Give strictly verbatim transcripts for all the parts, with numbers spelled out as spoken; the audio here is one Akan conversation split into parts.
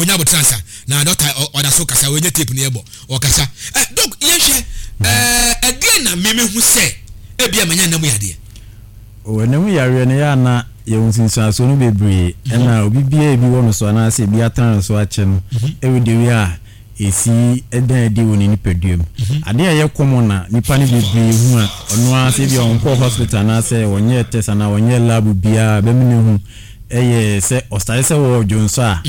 Monya abotire ansa na doctor ɔda so kasa. Wɔnyɛ tape ne yɛbɔ ɔkasa. Ɛ doc, yɛhwɛ ɛɛ ɛdeɛ na mímí hu sɛ ebi a manya nam yadeɛ. Ɛnam yareɛ no, yɛ ana yɛwɔ nsunsuansoɔ no bebree, ɛna obi biara ebi wɔ no so anaasɛ ebi atena no so akyɛ no, ɛwɔ de wi a esi ɛdan adi wɔ ne nipadua mu. Adeɛ a ɛyɛ common na nipa no bebree hu a, ɔno ara sɛ ebi a ɔnkɔɔ hospital anaasɛ ɔnyɛ test anaa ɔnyɛ lab biara bɛmu ne ho, ɛyɛ sɛ ɔstart sɛ wɔwɔ dwonso a,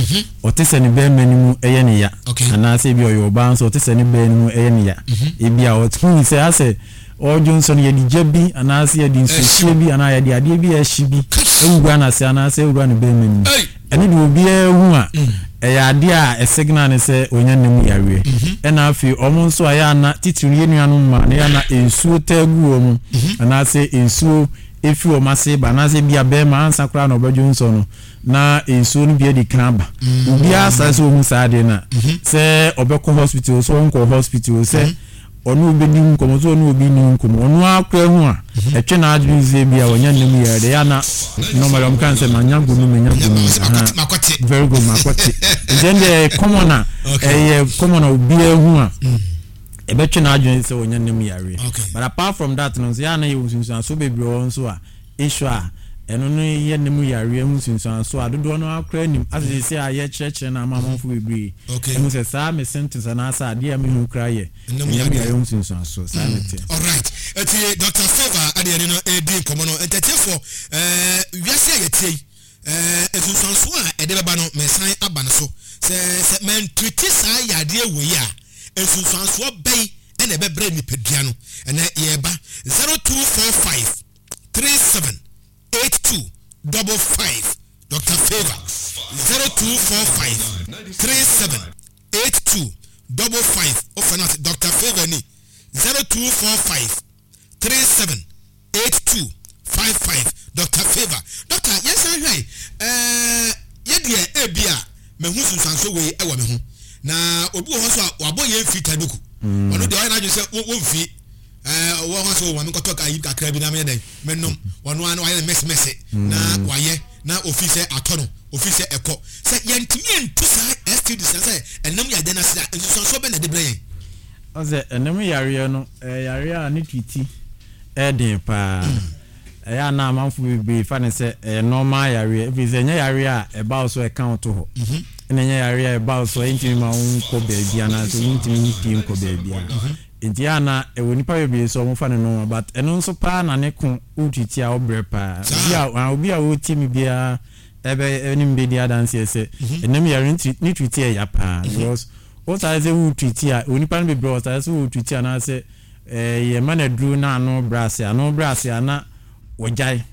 ɔte sɛ ne bɛrima no mu ɛyɛ ne ya, anaasɛ ebi ɔyɛ ɔbaa nso, ɔte sɛ ne bɛrima no mu ɛyɛ ne ya. Ebi a ɔtumi sɛ asɛ ɔdwonso no, yɛde gya bi anaasɛ yɛde nsuohyie bi anaa yɛde adeɛ bi a ɛhye bi ewura n'ase anaasɛ ewura ne bɛrima no mu. Ɛno de, obiara hu a, ɛyɛ adeɛ a ɛsignal ne sɛ onya ne mu yareɛ. Ɛna afei ɔmo nso a yɛ ana titiri no, yɛ nuanom mmaa no, yɛ ana nsuo taa gu wɔn anaasɛ nsuo efi wɔn ase ba, anaasɛ bi a bɛrima ansa koraa na ɔbɛdwo nsɔ no na nsuo no bi adi kan aba. Obiara saa sɛ ohun saa adeɛ na sɛ ɔbɛkɔ hospital, sɛ ɔnkɔ hospital, sɛ ɔne obi di nkɔmɔ, sɛ ɔne obi ni nkɔmɔ, ɔno akora ho a ɛtwe n'adwene sɛ bi a wɔnya ne mu yɛ de yɛ ana normally ɔmo kan sɛ manya gonu, manya gonu. Very good, makɔte. Nti ɛn deɛ common a ɛyɛ common a obiara hu a ɛbɛtwe n'adwene sɛ wɔnya ne mu yareɛ. But apart from that no nso, yɛ ana yɛ nsunsuanso bebree wɔ nso a issue a ɛno no yɛ ne mu yareɛ ho nsunsuanso a dodoɔ no akora anim asese a yɛkyerɛkyerɛ no ama amanfo bebree ɛhu sɛ saa me symptoms anaasɛ adeɛ a mehu kora yɛ ɛnam yareɛ ho nsunsuanso saa ne teɛ. Alright, eti Doctor Favour adeɛ ne no edi nkɔmɔ no. Ntɛtiefoɔ, ɛɛ wiase a yɛtie yi, ɛɛ nsunsuanso a ɛde bɛba no, mɛsan aba no so sɛ sɛ mɛntreat saa yadeɛ wɔ yi a, nsunsuansoɔ bɛyi ɛna ɛbɛbrɛ nipadua no. Ɛnɛ yɛreba zero two four five three seven eight two double five. Doctor Favour, zero two four five three seven eight two double five. Ɔfɛ no ase Doctor Favour ni zero two four five three seven eight two five five. Doctor Favour, doctor, yɛn san hwɛ ɛɛ yɛdeɛ ebi a mɛhu nsunsuanso wei ɛwɔ me ho, na obi wɔ hɔ nso a wabɔ yɛn fi taduku, ɔno deɛ ɔyɛ n'adwene sɛ wɔmfi ɛɛ ɔwɔ hɔ sɛ wɔn nkɔtɔ ayi kakra bi na meyɛ dɛ mɛnom, ɔno ano wayɛ no mɛsɛmɛsɛ na wayɛ na ofi sɛ atɔ no, ofi sɛ ɛkɔ. Sɛ yɛntumi ntu saa S T Ds na sɛ ɛnam yɛ adeɛ n'ase a, nsunsuansoɔ bɛ na ɛde brɛ yɛn? Ɔsɛ ɛnam yareɛ no, ɛyɛ yareɛ a ne treat ɛden paa. Ɛyɛ a na amanfo bebree fa ne sɛ ɛyɛ normal yareɛ, ɛfiri sɛ ɛnyɛ yareɛ a ɛba wo so ɛka wo to hɔ, ɛna ɛnyɛ yareɛ a ɛba wo so ɛntumi ma wo nkɔ baabi anaasɛ wontumi mpie nkɔ baabi a. Nti yɛ ana ɛwɔ nipa bebree sɛ ɔmo fa ne normal, but ɛno nso paa na ne ko wotreat a, ɔbrɛ paa. Obi a obi a wɔtie mi biara ɛbɛ ɛne mi bɛdi adanseɛ sɛ ɛnam yare ne treat ɛya paa, because wosare sɛ wotreat a, onipa no bebree wɔsare sɛ wotreat anaasɛ ɛɛ yɛma no aduro na ano brɛ ase, ano brɛ ase a na wɔgyae.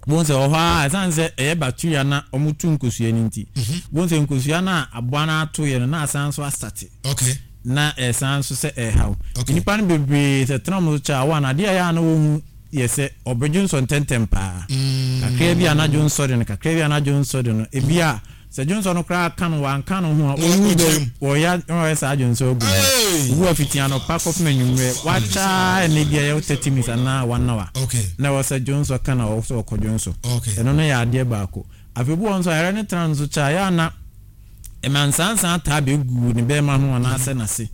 Bon sɛ ɔhɔ a, ɛsan sɛ ɛyɛ bacteria na ɔmo tu nkosua no, nti bon sɛ nkosua no a aboa no ato yɛ no na asan so astart na ɛsan so sɛ ɛhaw nipa no bebree sɛ tena ɔmo so kyɛ a wɔn adeɛ a ɛyɛ a na wɔn yɛ sɛ ɔbɛdwo nsɔ ntɛntɛm paa. Kakra bi anadwo nsɔ de no, kakra bi anadwo nsɔ de no, ebi a sɛ dwonsɔ no koraa ka no, wanka no ho a, ɔwu bɛ wɔyɛ wɔyɛ saa dwonsɔ agu mu. Owu afiti anɔpa kɔpem anwummerɛ, wakyaa ɛnɛ bi a ɛyɛ thirty minutes anaa one hour na ɛwɔ sɛ dwonsɔ ka na ɔwɔ sɛ ɔkɔ dwonsɔ. Ɛno no yɛ adeɛ baako. Afei bi wɔ nso a yɛrɛ ne tena nso kyɛ a, yɛ ana ɛma nsansan taa bɛgu ne bɛrima ho anaasɛ n'ase.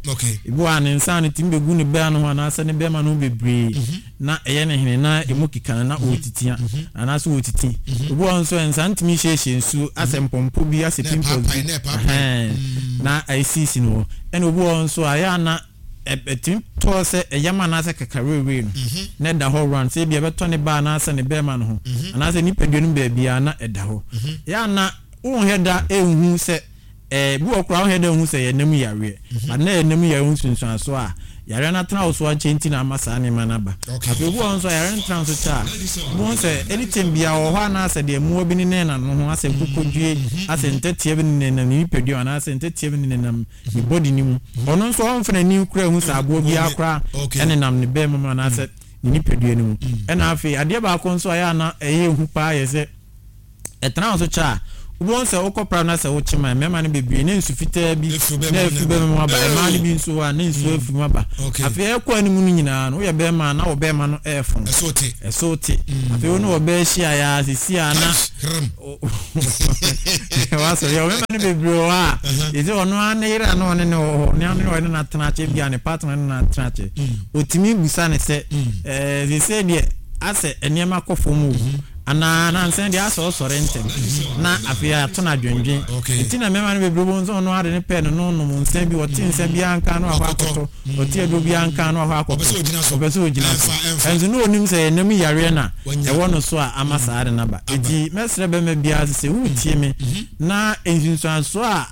Ebi wɔ a ne nsa no tumi bɛgu ne bɛrima no ho anaasɛ ne bɛrima no ho bebree na ɛyɛ ne hene na emu keka no na ɔretitia anaasɛ ɔretiti. Obi wɔ nso nsa ntumi hyehyɛ nsuo asɛ mpɔmpɔ bi asɛ pimples bi na ɛsisi no hɔ. Ɛna obi wɔ nso a, ɛyɛ ana ɛtumi tɔɔ sɛ ɛyam anaasɛ kakaweewee no na ɛda hɔ run, sɛ ebi ɛbɛtɔ ne ba anaasɛ ne bɛrima no ho anaasɛ nipadua no baabi a na ɛda hɔ. Ɛyɛ ana wonhɛ da ehu sɛ ɛɛ bi wɔ koraa, wonhɛ da ehu sɛ yɛ nam yareɛ, but na yɛ nam yareɛ ho nsunsuanso a yareɛ no atena wo so akyɛ nti na ama saa nneɛma no aba. Afei obi wɔ hɔ nso a yare no tena so kyɛ a, mo sɛ anytime bia wɔ hɔ anaasɛ deɛ mmoa bi ne nenam no ho, asɛ nkokɔdue, asɛ ntɛtea bi ne nenam ne nipadua anaasɛ ntɛtea bi ne nenam ne body no mu, ɔno nso ɔmfa n'ani kora hu sɛ aboa biara koraa ɛnenam ne bɛrima mu anaasɛ ne nipadua no mu. Ɛna afei adeɛ baako nso a ɛyɛ ana ɛyɛ ehu paa yɛ sɛ ɛtena so kyɛ a, Wobɛhu sɛ wokɔ pra no sɛ wokye ma mmarima no bebree ne nsu fitaa bi Efiri bɛrima na mu efiri na bɛrima mu aba. Hey! Mmaa no bi nso hɔ a ne nsuo efiri mu aba. Okay. Afei ɛkɔ anim no nyinaa no, woyɛ bɛrima a na wɔ bɛrima no ɛɛfon. Ɛso te. Ɛso te. Afei wo ne ɔbaa hyia yɛ a sisi a na Hram. Wasɔ yɛ ɔbɛma no bebree wɔ hɔ a yɛsɛ ɔno ara ne yere a na ɔne ne wɔ hɔ, ne ɔne ɔne no atena akyɛ bi a ne partner ne no atena akyɛ, otumi busa ne sɛ ɛɛ sese deɛ asɛ nneɛma kɔ fam o, anaa nansan deɛ asɛ ɔsɔre ntɛm, na afei ato no adwendwen. Okay. Nti na mmarima no bebree wɔ nso ɔno ade ne pɛ no no nom nsa bi, ɔte nsa bi anka no akɔ akɔtɔ, ɔte aduro bi anka no akɔ akɔtɔ. Ɔpɛ sɛ ogyina so. Ɔpɛ sɛ ogyina so. Ɛmfa, ɛmfa. Ɛnso ne onim sɛ ɛnam yareɛ na Wanya. ɛwɔ no so a ama saa de naba. Eti mɛsrɛ bɛrima biara sɛ wotie me na nsunsuansoɔ a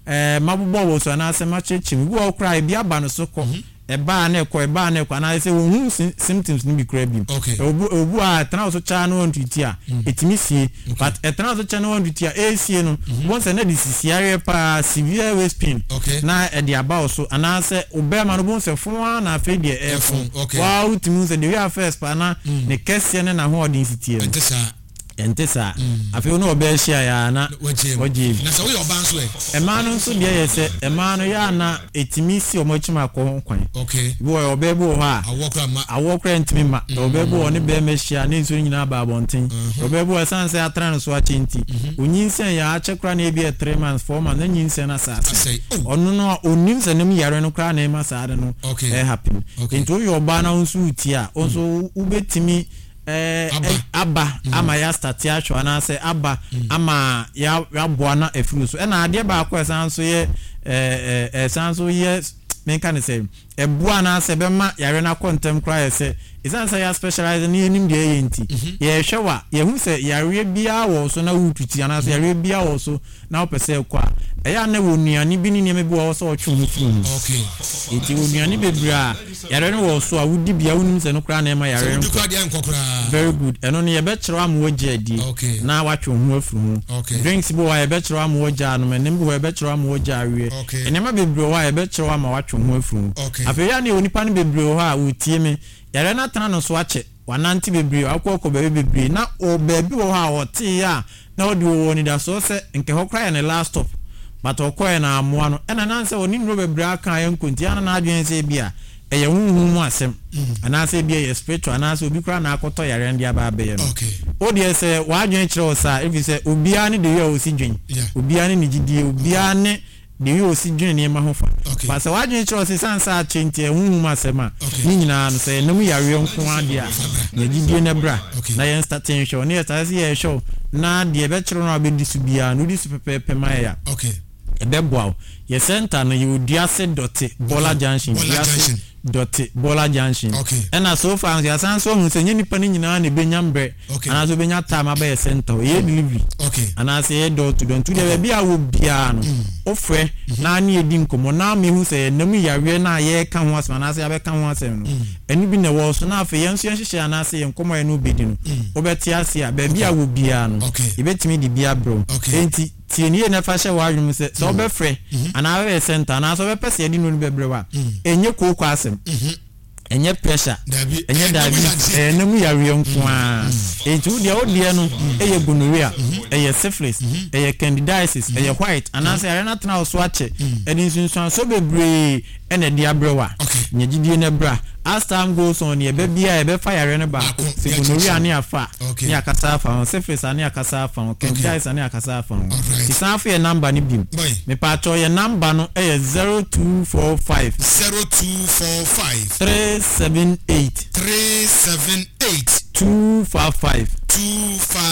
ɛɛ mabobɔ wɔ so anaasɛ makyerɛkyerɛ mu bi wɔ hɔ koraa, ebi aba no so kɔ, ɛbaa na ɛkɔ, ɛbaa na ɛkɔ, anaasɛ wɔn hu symptoms no bi koraa bi. Okay. obu obu a ɛtena wo so kyaa no wɔntuti a ɛtumi sie, but ɛtena wo so kyɛ no wɔntuti a ɛresie no wɔn sɛ na de sisi areɛ paa, severe waist pain Okay. na ɛde aba wo so, anaasɛ ɔbɛrima no bɔn sɛ fon a na afei deɛ ɛfon, ɛɛfon. Okay. Waa wotumi hu sɛ the way a first pa na ne kɛseɛ ne n'ahoɔden si tie no ɛnte saa. Ɛnte saa. Afei wo ne ɔbɛɛ hyia yɛ a na wagye mu. Wagye mu. Na sɛ woyɛ ɔbaa nso ɛ? Mmaa no nso deɛ yɛ sɛ mmaa no yɛ a na ɛtumi si wɔn akyi ma akɔ ho kwan. Okay bi wɔ ɔbaa bi wɔ hɔ a awoɔ kora ma awoɔ koraa ntumi ma. Ɔbaa bi wɔ ne bɛrima hyia ne nsuo nyinaa ba abɔnten. Ɔbaa bi wɔ ɛsan sɛ atena ne so akyɛ nti onyinsɛn yɛ akyɛ koraa na ebi yɛ three months, four months na nyinsɛn no asase. Asɛe. Oh. Ɔno no a onim sɛ ne mu yare no koraa na ɛma saa de no Okay. ɛhappen. Okay. Nti woyɛ ɔbaa na wo nso wotie a, wo nso wobɛtumi ɛɛ Aba. ɛ- aba ama yɛa start ahwɛ anaasɛ aba ama yɛ- yɛaboa na afiri so. Ɛna adeɛ baako a ɛsan so yɛ ɛɛ ɛɛ ɛsan so yɛ, menka ne sɛ ɛboa anaasɛ ɛbɛma yare no akɔ ntɛm koraa yɛ sɛ ɛsiane sɛ yɛ specialize ne yɛnim deɛ ɛyɛ nti, yɛhwɛ wa yɛhu sɛ yareɛ biara wɔ so na wotuti anaasɛ yareɛ biara wɔ so na wopɛ sɛ ɛkɔ a, ɛyɛ a na wɔ nnuane bi ne nneɛma bi wɔ hɔ sɛ ɔtwe ho firi ho. Okay nti wɔ nnuane bebree a yare no wɔ so a wodi bia wonim sɛ no koraa na ɛma sɛ yare no wodi kora deɛ nkɔ koraa. Very good. Ɛno no yɛbɛkyerɛw ama wagye adi Okay. na watwe wo ho afiri ho. Okay. Drinks bi wɔ hɔ a yɛbɛkyerɛw ama wagye anom, ɛnam bi wɔ hɔ a yɛbɛkyerɛw ama wagye awie. Okay. Nneɛma bebree wɔ hɔ a yɛbɛkyerɛw ama watwe wo ho afiri ho. Okay. Afei yɛ ne onipa no bebree wɔ hɔ a wɔtie me, yɛrɛ no atena no so akyɛ, wanante bebree, akɔ akɔ baabi bebree na ɔ baabi wɔ hɔ a ɔtee a na ɔde wɔ anidasoɔ sɛ nkɛ hɔ koraa yɛ ne last stop, but ɔkɔɛ na amoa no ɛna nan sɛ ɔne nnuro bebree aka yɛ nkonti ana n'adwene sɛ bi a ɛyɛ honhom mu asɛm anaasɛ bi ɛyɛ spiritual anaasɛ obi koraa na akɔtɔ yare no de aba abɛyɛ no. Okay o deɛ sɛ w'adwene kyerɛ wo saa, ɛfiri sɛ obiara ne deɛ a ɔsi dwen, Yeah. obiara ne ne gyidie, obiara ne deɛ a ɔsi dwen nneɛma ho fa. Okay. Ba sɛ w'adwene kyerɛ wo sɛ san sɛ akyɛ nti ɛhuhum asɛm a, Okay. ne nyinaa no sɛ ɛnam yareɛ nko adeɛ a yɛgyidie no bra Okay. na yɛn start nhwɛ wo ne yɛ start sɛ yɛhwɛ wo na deɛ ɛbɛkyerɛ no a wobɛdi so biara no, wodi so pɛpɛɛpɛ ma yɛ a okay ɛbɛboa wo. Yɛ center no yɛwɔ Duase Dɔte Bɔla Junction. Bɔla Duase Junction. Dɔte Bɔla Junction. Okay. Ɛna so far nso yɛasan so ahu sɛ nyɛ nipa no nyinaa na ɛbɛnya mbrɛ Okay. anaasɛ wobɛnya time abɛyɛ center hɔ. Yɛyɛ delivery okay anaasɛ yɛyɛ door to door, nti deɛ baabi a wɔ biara no wofrɛ na ne yɛdi nkɔmmɔ na mehu sɛ yɛnam yareɛ no a yɛreka ho asɛm anaasɛ yɛabɛka ho asɛm no ɛno bi na ɛwɔ so, na afei yɛn nso yɛnhyehyɛ anaasɛ yɛn nkɔmmɔ a yɛne wobɛdi no wobɛte ase a baabi a wɔ biara no Okay. yɛbɛtumi de bi abrɛ wo. Okay. Enti tie ne yie na fa hyɛ w'adwene mu sɛ sɛ wobɛfrɛ anaa wobɛyɛ center anaasɛ wobɛpɛ sɛ yɛde no no bɛbrɛ wo a, ɛnyɛ kooko asɛm, ɛnyɛ pressure. Dabi. Ɛnyɛ diabetes, ɛyɛ nam yareɛ nko ara. Enti wo deɛ wo deɛ no ɛyɛ gonorrhea, ɛyɛ syphilis, ɛyɛ candidiasis, ɛyɛ white anaasɛ yareɛ no atena wo so akyɛ, ɛde nsunsuansoɔ bebree ɛna ɛde abrɛ wo a, Okay. nyɛ gyidie no bra. As time goes on, yɛbɛ bia yɛbɛfa yareɛ no baako. Baako, Sɛ gonorrhea ne afa Okay. ne akasa afa ho, syphilis a ne akasa afa ho, candidiasis a ne akasa afa ho. Alright. Ti san fo yɛ number no bim. Boy. Mepatwɔ, yɛ number no ɛyɛ zero two four five zero two four five three seven eight three seven eight two five five two five.